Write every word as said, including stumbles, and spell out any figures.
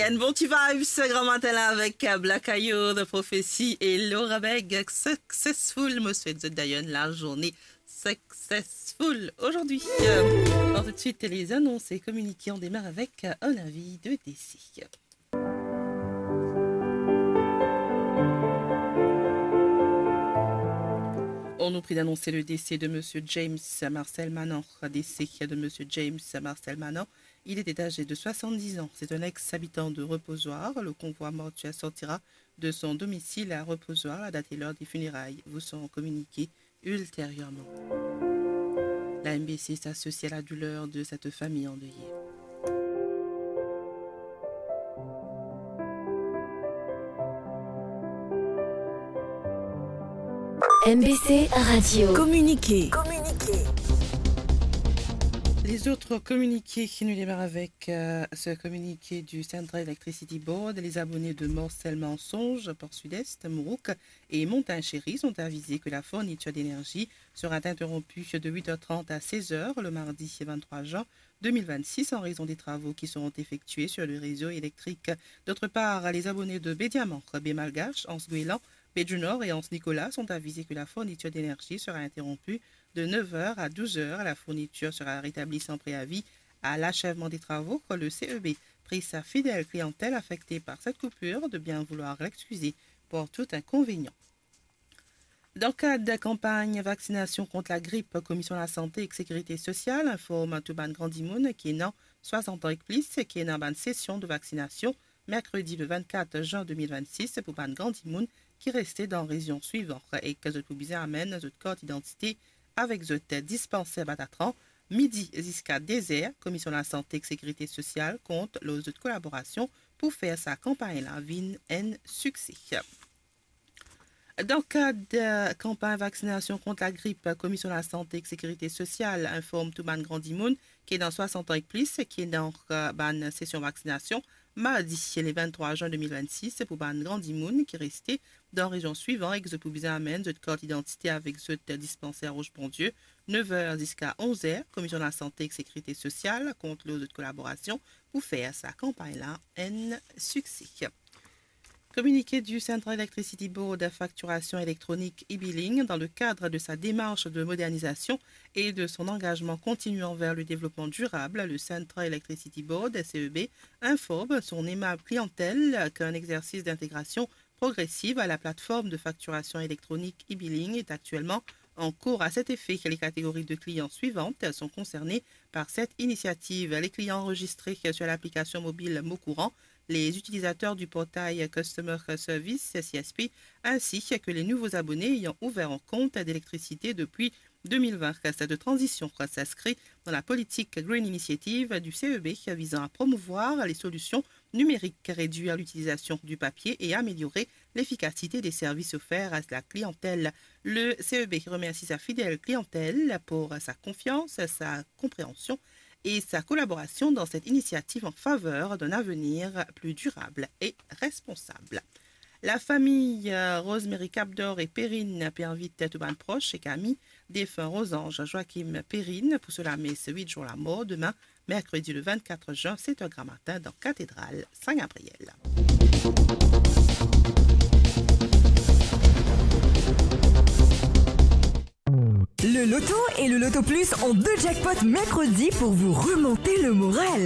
Enn bon ti vibes gramatin la avek, euh, Black Ayo, The Prophecy e Laura Beg, Successful. Mo swet zot d'ailleurs enn lazourne successful ozordi. Euh, alors tout de suite, les annonces et communiqués, on démarre avec, euh, un avis de décès. On nous prie d'annoncer le décès de monsieur James Marcel Manan. Décès de monsieur James Marcel Manan. Il était âgé de soixante-dix ans. C'est un ex-habitant de Reposoir. Le convoi mortuaire sortira de son domicile à Reposoir. La date et l'heure des funérailles vous seront communiquées ultérieurement. La M B C s'associe à la douleur de cette famille endeuillée. M B C Radio. Communiqué. Communiqué. Les autres communiqués, nous démarrons avec, euh, ce communiqué du Central Electricity Board. Les abonnés de Morcel, Mensonge, Port Sud-Est, Mourouk et Montagne Chérie sont avisés que la fourniture d'énergie sera interrompue de huit heures trente à seize heures le mardi vingt-trois juin deux mille vingt-six en raison des travaux qui seront effectués sur le réseau électrique. D'autre part, les abonnés de Baie Diamant, Baie Malgache, Anse Goéland, Baie du Nord et Anse Nicolas sont avisés que la fourniture d'énergie sera interrompue de neuf heures à douze heures. La fourniture sera rétablie sans préavis à l'achèvement des travaux. Le C E B prie sa fidèle clientèle affectée par cette coupure de bien vouloir l'excuser pour tout inconvénient. Dan kad kanpagn vaksinasion kont lagrip, Komision Lasante ek Sekirite Sosial inform tou bann gran dimoun ki ena swasant an ek plis ki ena bann sesion de vaksinasion merkredi le vennkat zin de mil vennsis pou bann gran dimoun ki reste dan rezion swivan ek zot pou bizin amenn zot kart idantite avek zot dispanser Batatran midi ziska de zer. Komision Lasante ek Sekirite Sosial kont lor zot kolaborasion pou fer sa kanpagn la vinn enn sikse. Dan kad, eh, kanpagn vaksinasion kont lagrip, Komision Lasante ek Sekirite Sosial inform tou bann gran dimoun ki ena swasant an ek plis ki ena, eh, bann sesion vaksinasion mardi le venntrwa zin de mil vennsis pou bann gran dimoun ki reste dan rezion swivan ek zot pou bizin amenn zot kart idantite avek zot dispanser Roche Bondieu, nev er ziska onz er. Komision Lasante ek Sekirite Sosial kont lor zot kolaborasion pou fer sa kanpagn la enn sikse. Communiqué du Central Electricity Board, facturation électronique e-billing. Dans le cadre de sa démarche de modernisation et de son engagement continu envers le développement durable, le Central Electricity Board, C E B, informe son aimable clientèle qu'un exercice d'intégration progressive à la plateforme de facturation électronique e-billing est actuellement en cours. À cet effet, les catégories de clients suivantes sont concernées par cette initiative : les clients enregistrés sur l'application mobile Mon Courant, les utilisateurs du portail Customer Service, C S P, ainsi que les nouveaux abonnés ayant ouvert un compte d'électricité depuis deux mille vingt. Cette transition s'inscrit dans la politique Green Initiative du C E B visant à promouvoir les solutions numériques, réduire l'utilisation du papier et améliorer l'efficacité des services offerts à la clientèle. Le C E B remercie sa fidèle clientèle pour sa confiance, sa compréhension et sa collaboration dans cette initiative en faveur d'un avenir plus durable et responsable. Lafami, euh, Rosemary Capdor e Perrine pe invit tou bann pros ek ami defin Rosange Joachim Perrine pou so lames uit zour lamor demin, merkredi le vennkat zin, set er gramatin, dan Katedral Sin Gabriel. Le Loto et le Loto Plus ont deux jackpots mercredi pour vous remonter le moral.